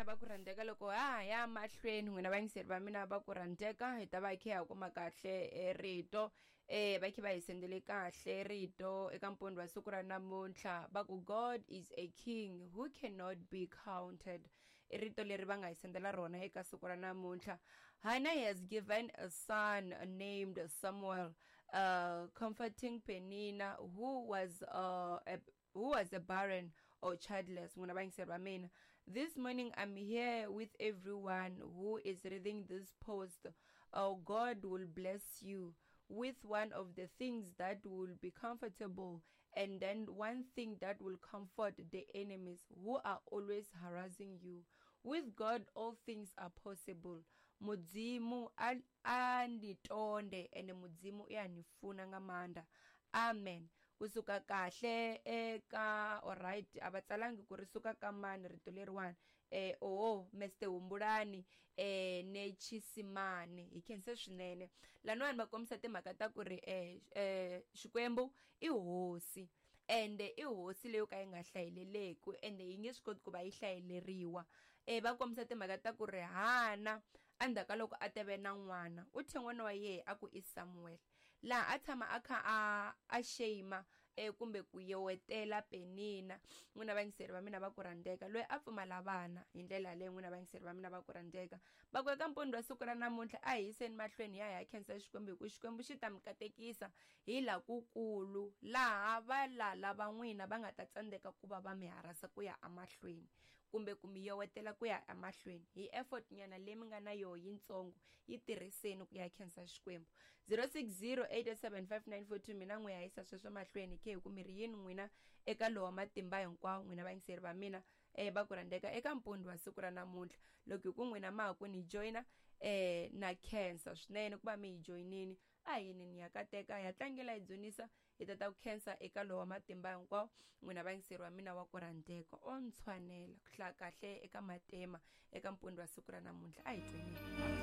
va ku rhandzeka loko ha ha ya mahlweni n'wina vayingiseri va mina va ku rhandzeka hi ta va hi khe ha kuma kahle eh, rito eh va khe va hi sendele kahle rito eka mpundzu wa siku ra namuntlha va ku god is a king who cannot be counted i rito leri va nga hi sendela rona eka siku ra namuntlha hannah has given a son named samuel comforting penina who was a who was a barren or childless n'wina vayingiseri va mina this morning i'm here with everyone who is reading this post oh god will bless you with one of the things that will be comfortable and then one thing that will comfort the enemies who are always harassing you with god all things are possible mudzimu a a ni tonde ene mudzimu i a ni funa nga maanḓa amen kusuka kahle eka alright a va tsalangi ku ri suka ka mani rito leriwani eh oho mr humbulani eh nechisimani hi khense swinene laniwani va kombisa timhaka ta ku ri eh, eh xikwembu i hosi ende i hosi leyo ka yi nga hlayeleleku ende yi nge swi koti ku va yi hlayeleriwa eh va kombisa timhaka ta ku ri hana endzhaku ka loko a teve na n'wana u thye n'wana wa yehe a ku i samuel laha a tshama a kha a a shame eh, kumbe ku yewetela penina n'wina vayingiseri va mina va ku rhandzeka loyi a pfumala vana hi ndlela yaleyo n'wina vayingiseri va mina va ku rhandzeka va ku eka mpundzu wa siku ra namuntlha a hi yiseni mahlweni ya hi ya khensa xikwembu hi ku xikwembu xi ta mi katekisa hi la kukulu laha valala va n'wina va nga ta tsandzeka ku va va mi harasa ku ya emahlweni kumbe ku mi yowetela ku ya emahlweni hi effort nyana leyi mi nga na yoho yintsongo yi tirhiseni ku ya khensa xikwembu 0608875942 mina n'wi ya yisa sweswo mahlweni ke hi ku mi ri yini n'wina eka lowa matimba hinkwawo n'wina vayingiseri va mina eh va ku rhandzeka eka mpundzu wa siku ra namuntlha loko hi ku n'wina ma ha ku ni joyina eh na khensa swinene ku va mi hi joyinini a hi yini ni ya kateka ya tlangela hi dzunisa hi ta ta ku khensa eka lowa matimba hinkwawo n'wina vayingiseri wa mina wa ku rhandzeka o ntshwanela ku hlaya kahle eka matema eka mpundzu wa siku ra namuntlha a hi tweneni.